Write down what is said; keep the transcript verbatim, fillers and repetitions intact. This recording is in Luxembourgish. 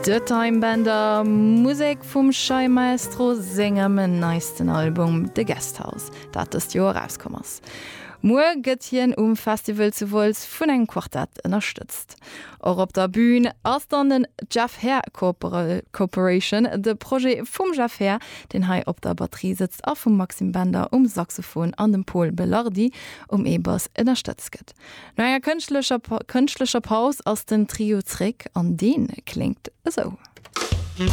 The Time Bender Musek vum Shai Maestro sengem neisten Album The Guesthouse, dat dëst Joer erauskomm ass. Muer gëtt hien um Festival zu Wolz vun engem Quartett ënnerstëtzt. Och op der Bün ass dann den Jeff Herr Corporation, de Projet vum Jeff Herr, deen hei op der Batterie sëtzt a vum Maxime Bender um Saxophon an dem Pol Belardi um E-Bass ënnerstëtzt gëtt. No enger kënschtlecher kënschtlecher Paus ass den Trio zréck an dee kléngt esou.